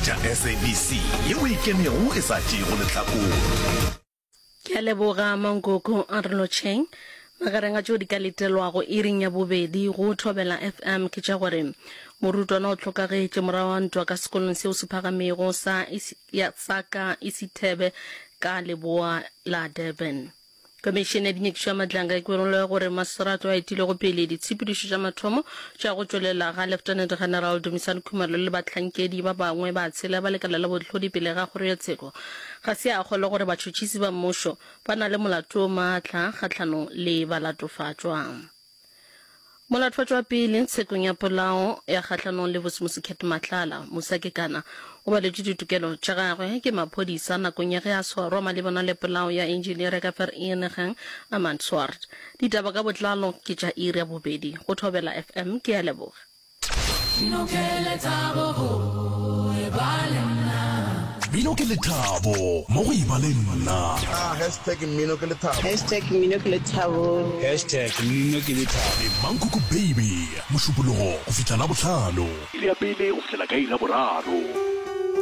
tša SABC yeo e kenego e sa tšeego lehlakore. Ke a leboga Mankoko a re lotšheng. Magareng a tšeo di ka letelwago iring ya bobedi go Thobela FM ke tša gore morutwana o hlokagetše morago ga ntwa ka sekolong seo se phagamego sa sa ka Isithebe ka leboa la Durban. Komišene ya Dinyakišo ya Matlanga e kwerile gore Maserato a etilego pele ditshepedišo tša mathomo tša go tšwelela ga Lieutenant General Dumisani Khumalo le bahlankedi ba bangwe ba tshela ba lekala la bohlodi pele ga kgoro ya tsheko ga se a kgolwa gore batšhotšhisi ba mmušo ba na le molato o maatla kgahlanong le balatofatšwa. Molatofatšwa wa pele tshekong ya polao ya kgahlanong le Vusimusi Cat Matlala, Musa Kekana, o baletšwe ditokelo tša gagwe ke maphodisa nakong ya ge a swarwa malebana le polao ya engineer ka Vereeniging, Armand Swart. Ditaba ka botlalo ke tša iri ya bobedi go Thobela FM. Ke a leboga. Mmino ke lethabo go eba le nna. Mmino ke lethabo mo go eba le nna. Ah, hashtag mmino ke lethabo. Hashtag mmino ke lethabo. Hashtag mmino ke lethabo. Le Mankoko Baby, Mošupologo go fihla Labohlano. Iri ya pele go fihlela ka iri ya boraro.